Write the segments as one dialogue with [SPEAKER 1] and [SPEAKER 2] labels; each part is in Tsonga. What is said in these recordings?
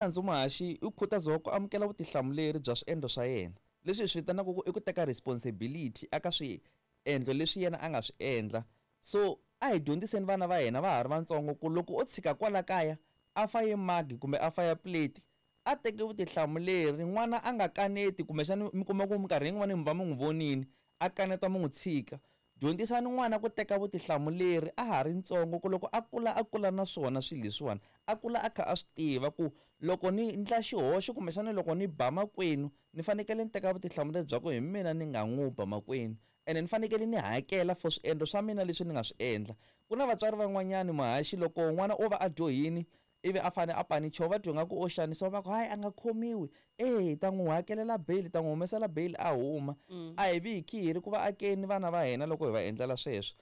[SPEAKER 1] Nandzu muhaxi u khutaziwa ku amukela vutihlamuleri bya swiendlo swa yena, leswi hi swi vitanaka ku i ku teka responsibility eka swiendlo leswi yena a nga swi endla. So a hi dyondziseni vana va hina va ha ri vatsongo ku loko o tshika kwala kaya a faye magi kumbe a faya plate a teke vutihlamuleri, n'wana a nga kaneti kumbexana mi kuma ku minkarhi yin'wani mi va mi n'wi vonile a kaneta mi n'wi tshika. Dyondzisani n'wana ku teka vutihlamuleri a ha ri ntsongo ku loko a kula a kula na swona swilo leswiwani, a kula a kha a swi tiva ku loko ni ndla xihoxo kumbexana loko ni ba makwenu ni fanekele ni teka vutihlamuleri bya ku hi mina ni nga n'wi ba makwenu ene ni fanekele ni hakela for swiendlo swa mina leswi ni nga swi endla. Ku na vatswari van'wanyani muhaxi loko n'wana o va a dyohini ivi a fane a panichiwa va twa ingaku o xanisiwa va ku hayi a nga khomiwi e hi ta n'wi hakelela bail hi ta n'wi humesela bail a huma a hi vi hi khi hi ri ku va akeni vana va hina loko hi va endlela sweswo.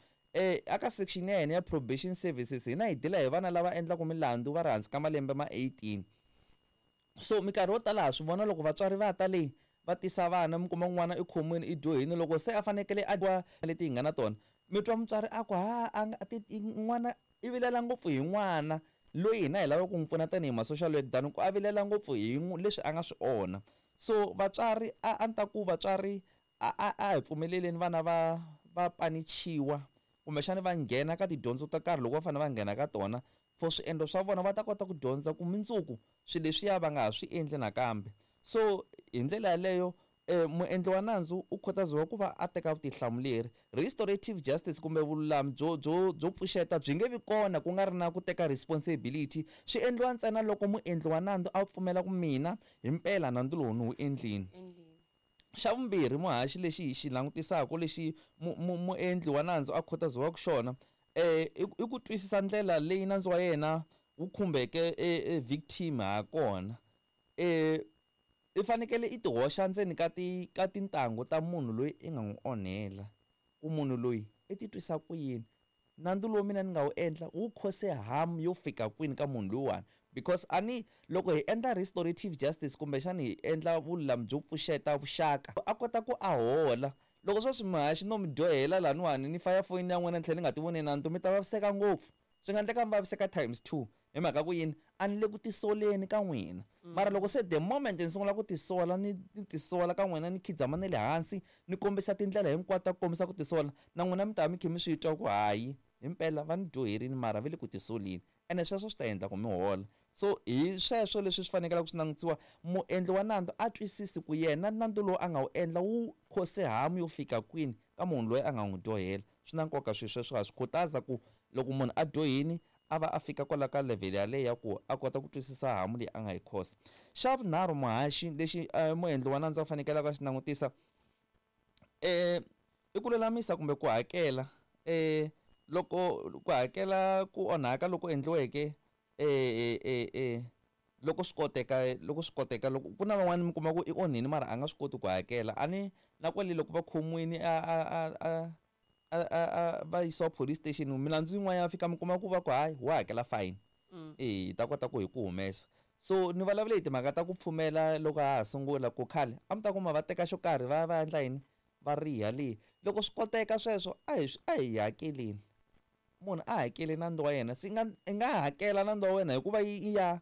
[SPEAKER 1] Aka section ya hina ya probation services hina hi deal-a hi vana lava endlaka milandzu va ri hansi ka malembe ma 18. So minkarhi yo tala ha swi vona loko vatswari va ta le va tisa vana mi kuma n'wana i khomiwile i dyohile loko se a fanekele a leti hi nga na tona mi twa mutswari a ku ha a nga n'wana i vilela ngopfu hi n'wana loyi hina hi lavaka ku n'wi pfuna tanihi ma social work than ku a vilela ngopfu hi leswi a nga swi onha. So vatswari a ni ta ku vatswari a hi pfumeleleni vana va panichiwa kumbexana va nghena ka tidyondzo to karhi loko va fanele va nghena ka tona for swiendlo swa vona va ta kota ku dyondza ku mundzuku swilo leswiya va nga ha swi endli nakambe. So hi ndlela yaleyo muendli wa nandzu u khutaziwa ku va a teka vutihlamuleri. Restorative justice kumbe vululami byo byo byo pfuxeta byi nge vi kona ku nga ri na ku teka responsibility, swi endliwa ntsena loko muendli wa nandzu a pfumela ku mina himpela nandzu lowu ni wu endlile. Xa vumbirhi muhaxi lexi hi xi langutisaka lexi muendli wa nandzu a khutaziwaka xona i ku twisisa ndlela leyi nandzu wa yena wu khumbeke e victim ha kona. I fanekele i ti hoxa ndzeni ka ti ka tintangu ta munhu loyi i nga n'wi onhela ku munhu loyi i ti twisa ku yini, nandzu lowu mina ni nga wu endla wu cause harm yo fika kwini ka munhu loyiwani because a ni loko hi endla restorative justice kumbexani hi endla vululami byo pfuxeta vuxaka a kota ku a hola. Loko sweswi muhaxi no mi dyohela laniwani ni faya foyini ya n'wina ni tlhela ni nga ti voni nandzu mi ta vaviseka ngopfu, swi nga endleka mi vaviseka times 2 hi mhaka ku yini a ni le ku tisoleni ka n'wina. Mara loko se the moment ni sungula ku tisola ni tisola ka n'wina ni khidzama na le hansi ni kombisa tindlela hinkwato ta ku kombisa ku tisola na n'wina mi ta va mi kha mi swi twa ku hayi himpela va ni dyoherini mara va le ku tisoleni ene sweswo swi ta endla ku mi hola. So hi sweswo leswi swi fanekelaka swi langutisiwa muendli wa nandzu a twisisi ku yena nandzu lowu a nga wu endla wu cause harm yo fika kwini ka munhu loyi a nga n'wi dyohela. Swi na nkoka swilo sweswo ha swi khutaza ku loko munhu a dyohini a va a fika kwala ka level yaleyo ya ku a kota ku twisisa harm leyi a nga yi cause. Xa vunharhu muhaxi lexi muendli wa nandzu a fanekelaka a xi langutisa i ku lulamisa kumbe ku hakela loko ku hakela ku onhaka loko endliweke loko swi koteka loko swi koteka loko ku na van'wani mi kuma ku i onhini mara a nga swi koti ku hakela a ni na kwale loko va khomiwini a va yisiwa police station milandzu yin'wana ya fika mi kuma ku va ku hayi wa hakela fine hi ta kota ku hi ku humesa. So ni vulavule hi timhaka ta ku pfumela loko ha ha sungula ku khale a mi ta kuma va teka xo karhi va ya va endla yini va riha le loko swi koteka sweswo a hi a hi hakeleni munhu a hakeli nandzu wa yena se i nga hakela nandzu wa wena hikuva yi ya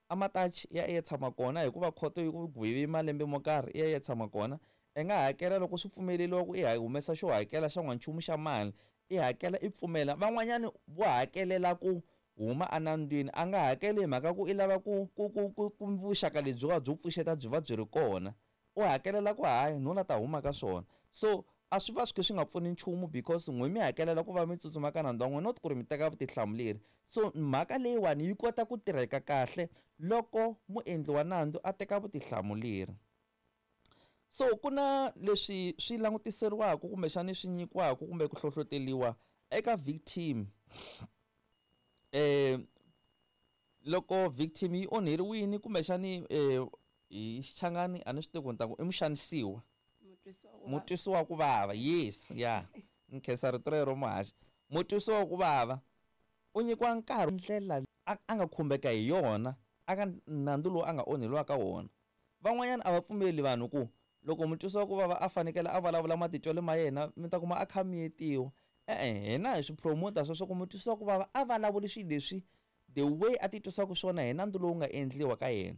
[SPEAKER 1] amatachi ya ya tshama kona hikuva khoto yi ku gwevi malembe mo karhi i ya ya tshama kona. I nga hakela loko swi pfumeleriwa ku i humesa xo hakela xa n'wanchumu xa mali i hakela i pfumela. Van'wanyani vo hakelela ku huma enandzwini a nga hakeli hi mhaka ku i lava ku ku ku ku ku vuxaka lebyiwa byo pfuxeta byi va byi ri kona u hakelela ku hayi no la ta huma ka swona. So a swi va swi kha swi nga pfuni nchumu because n'we mi hakelela ku va mi tsutsuma ka nandzu wa n'wina not ku ri mi teka vutihlamuleri. So mhaka leyiwani yi kota ku tirheka kahle loko muendli wa nandzu a teka vutihlamuleri. So ku na leswi swi langutiseriwaka kumbexani swi nyikiwaka kumbe ku hlohloteriwa eka victim loko victim yi onheriwile kumbexani hi Xichangani a ni swi tivi ku ni ta ku i muxanisiwa mutwisiwa ku vava yes ya ni khensa rito rero muhaxi mutwisiwa ku vava u nyikiwa nkarhi ndlela a nga khumbeka hi yona aka nandzu lowu a nga onheliwa ka wona. Van'wanyana a va pfumeli vanhu ku loko mutwisiwa ku vava a fanekele a vulavula matitwelo ma yena mi ta kuma a kha miyetiwa. E-e hina hi swi promote sweswo ku mutwisiwa ku vava a vulavuli swilo leswi The way a titwisaka swona hi nandzu lowu nga endliwa ka yena.